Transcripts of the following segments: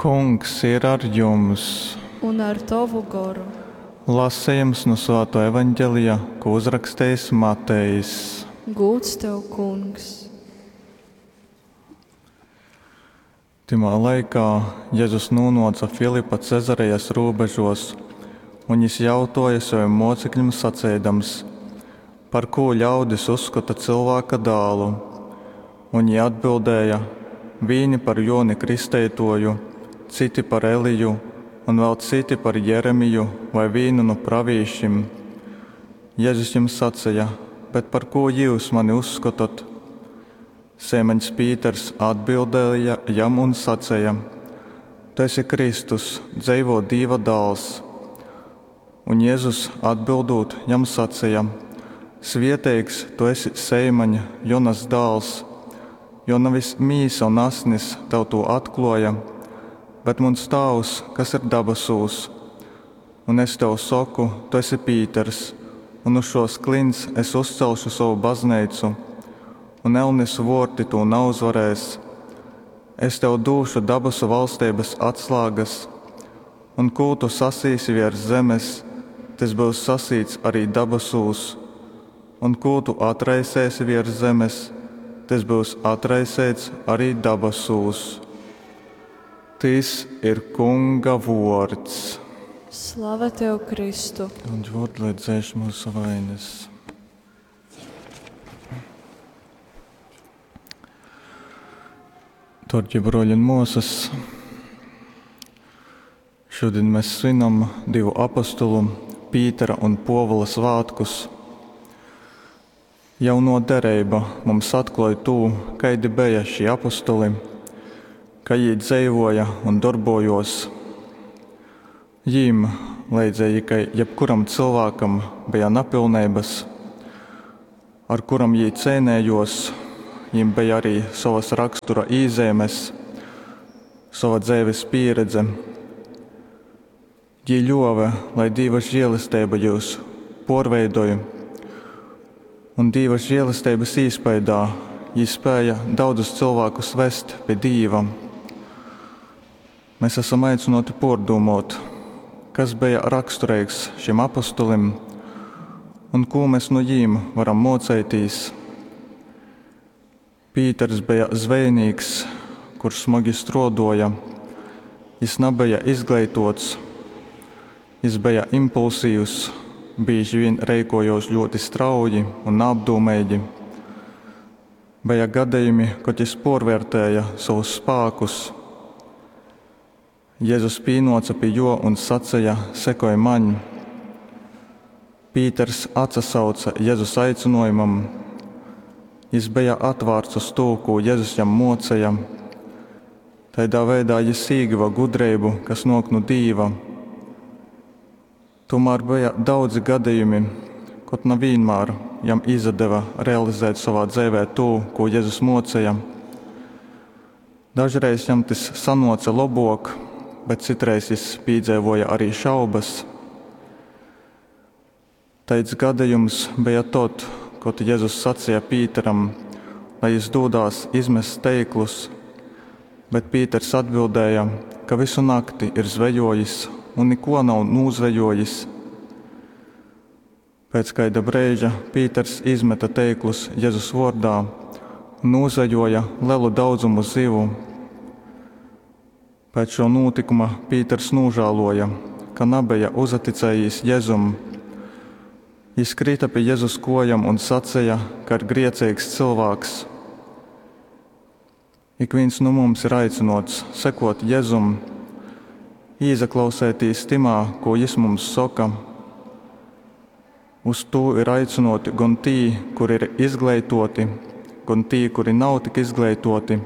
Kungs ir ar jums! Un ar tovu goru. Lasejums nu Svātō Evangelija, kū uzrakstejis Matejs. Gūds tev, Kungs! Tymā laikā Jezus nūnōca Filipa Cezarejas rūbežōs, un jys jautōja sovim mōceklim saceidams, Par kū ļaudis uzskota Cylvāka Dālu? Un jī atbildēja, Vīni par Jōni Kristeitōju, citi par Eliju un vēl citi par Jeremiju vai vīnu nu pravīšim. Jezus jim saceja, Bet par kū jyus mani uzskotot? Seimaņs Pīters atbildēja jam un saceja, Tu esi Kristus, dzeivō Dīva Dāls. Un Jezus atbildūt jam saceja, Svieteigs tu esi, Seimaņ, Jonas dāls, jo navis mīsa un asnis tev tū atklōja, bet muns Tāvs, kas ir dabasūs. Un es tev soku, tu esi Pīters, un uz šōs klints es uzcelšu sovu bazneicu, un elnes vōrti tū nauzvarēs. Es tev dūšu dabasu valsteibas atslāgas, un kū tu sasīsi viers zemes, tys byus sasīts arī dabasūs, un kū tu atraiseisi viers zemes, tys byus atraiseits arī dabasūs. Tys ir Kunga vuords. Slava tev, Kristu! Un vārdu, lai dzēš mūsu vainas. Dārgie broļi un māsas, šodien mēs svinam divu apostulu, Pītera un Povola svētkus. Jauno dereiba mums atklāj tū, kaidi bija šie apostuli, kā jī dzeivoja un darbojos. Jīm, leidzīgi kai jebkuram cilvēkam, bija napilneibas, ar kuram jī cēnējos, jīm bija arī savas rakstura īzīmes, sava dzeives pieredze. Jī ļuove, lai Dīva žēlestība jūs porveidoj, un Dīva žēlestības īspaidā jī spēja daudzus cilvēkus vest pie Dīva. Mēs esam aicināti pārdomāt, kas bija raksturīgs šim apostolim un ko mēs no jīm varam mocēties. Pīters bija zvejnīks, kurš smagi strādoja. Jis nebija izgleitots, jis bija impulsīvs, bieži vien reikojos ļoti strauji un neapdomīgi. Bija gadījumi, kad jis porvērtēja savus spēkus. Jēzus pīnoca pie jo un sacīja: Sekoj maņ! Pīters atsasauca Jēzus aicinājumam. Jis bija atvērts uz to, ko Jēzus jam mocīja. Tādā veidā jis ieguva gudrību, kas nāk no Dīva. Tomēr bija daudzi gadījumi, kad ne vienmēr jam izdeva realizēt savā dzīvē to, ko Jēzus mocīja. Dažreiz jam tas sanoca labāk, bet citreiz jis piedzīvoja arī šaubas. Taids gadījums bija tad, kad Jēzus sacīja Pīteram, lai jis dūdās izmest teiklus, bet Pīters atbildēja, ka visu nakti ir zvejojis un neko nav nūzvejojis. Pēc kaida brīža Pīters izmeta teiklus Jēzus vārdā un nūzvejoja lielu daudzumu zivu. Pēc šo notikuma Pīters nožēloja, ka nebija uzaticējis Jēzum. Jis krita pie Jēzus kojam un sacīja, ka ir griecīgs cilvēks. Ik viens no mums ir aicinots sekot Jēzum, īzaklausētīs timā, ko jis mums saka. Uz to ir aicinoti gan tī, kuri ir izgleitoti, gan tī, kuri nav tik izgleitoti,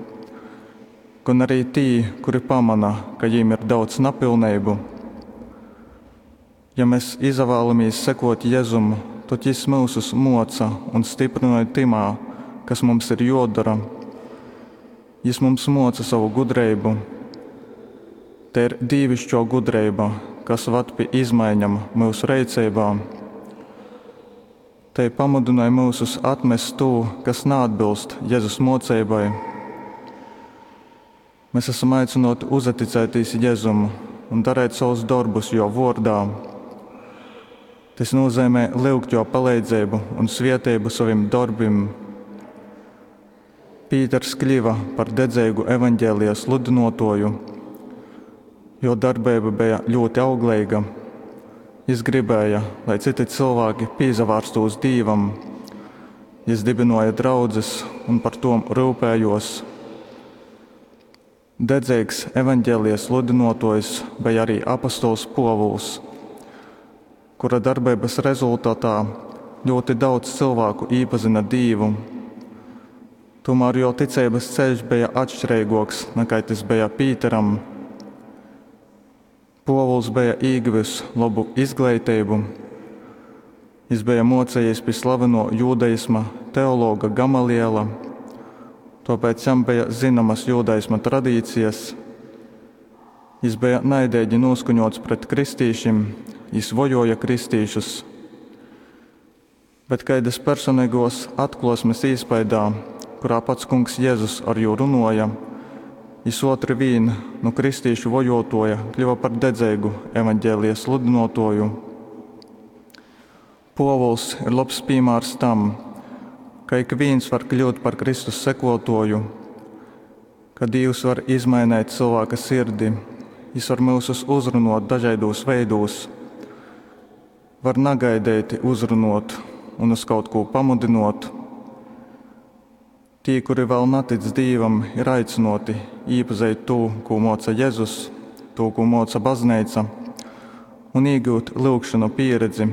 gan arī tī, kuri pamana, ka jīm ir daudz napilnību. Ja mēs izvēlamies sekot Jēzum, tad jis mūsus moca un stiprināja timā, kas mums ir jodara. Jis mums moca savu gudrību. Te ir dīvišķo gudrība, kas vad pie izmaiņām mūsu reicībā. Te pamudināja mūsus atmest to, kas neatbilst Jēzus mocībai. Mēs esam aicynōti uzaticētīs Jezum un darēt sovus dorbus Jō vōrdā. Tys nūzeimej lyugt Jō paleidzeibu un svieteibu sovim dorbim. Pīters kļiva par dedzeigu evaņģēlija sludynōtōju. Jō darbeiba beja ļūti augleiga. Jis gribēja, lai cyti cylvāki pīsavārstūs Dīvam. Jis dybynōja draudzes un par tom ryupējōs. Dedzeigs evaņģēlija sludynōtōjs beja arī apostols Pōvuls, kura darbeibas rezultatā ļūti daudz cylvāku īpazyna Dīvu. Tūmār jō ticeibas ceļš beja atšķireigōks nakai tys beja Pīteram. Pōvuls beja īgivis lobu izgleiteibu. Jis beja mōcējies pi slavenuo jūdaisma teologa Gamaliela, tōpēc jam beja zynamas jūdaisma tradīcijas. Jis beja naideigi nūskaņots pret kristīšim, jis vojōja kristīšus. Bet kaidas personeigōs atklōsmes īspaidā, kurā pats kungs Jezus ar jū runōja, jis ōtri vīn nu kristīšu vojōtōja kļuva par dedzeigu evaņģēlija sludynōtōju. Pōvuls ir lobs pīmārs tam, ka ik vīns var kļūt par Kristus sekōtōju, ka Dīvs var izmaineit cylvāka sirdi, Jis var myusus uzrunōt dažaidūs veidūs, var nagaideiti uzrunōt un uz kaut kū pamudynōt. Tī, kuri vēl natic Dīvam, ir aicynōti īpazeit tū, kū mōca Jezus, tū, kū mōca bazneica, un īgyut lyugšonu pieredzi.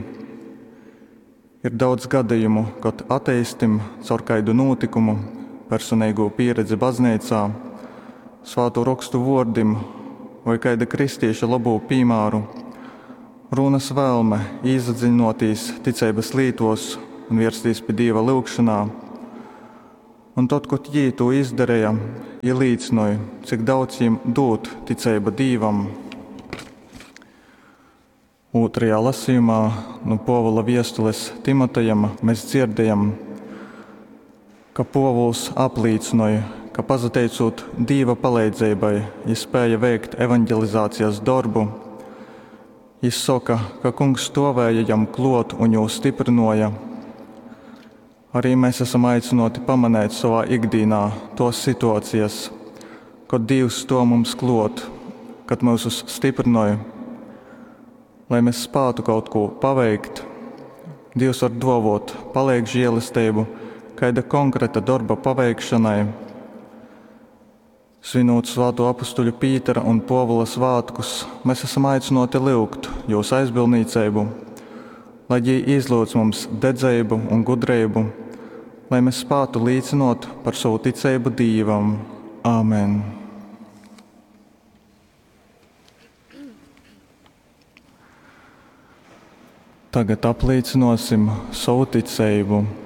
Ir daudz gadījumu, kod ateistim caur kaidu nūtikumu, personeigū pieredzi bazneicā, svātu rokstu vuordim voi kaida kristīša lobū pīmāru, rūnas vēlme īsadziļinotīs ticeibas lītos un vierstīs pi Dīva lyugšanā. Un tod, kod jī tū izdareja, jī līcynoj, cik daudz jim dūd ticeiba Dīvam. Ūtrajā lasījumā nu Pōvula viestules Timotejam mēs dzirdējam, ka Pōvuls aplīcynoj, ka pasateicūt Dīva paleidzeibai, jis spēja veikt evanģelizācijas dorbu. Jis soka, ka kungs stovēja jam klot un jū stiprinoja. Arī mēs esam aicināti pamanēt savā ikdienā tos situācijas, kad Dievs stuov mums klot, kad mūsus stiprinoj, lai mēs spātu kaut ko paveikt. Dievs var dovot palīg žēlestību kaida konkrēta dorba paveikšanai. Svinot Svāto apustuļu Pītera un Pōvula svātkus, mēs esam aicināti lyugt jūs aizbildniecību, lai jī izlūdz mums dedzeibu un gudrību, lai mēs spātu līcinot par savu ticību Dīvam. Āmen! Tagad aplīcinosim savu ticību.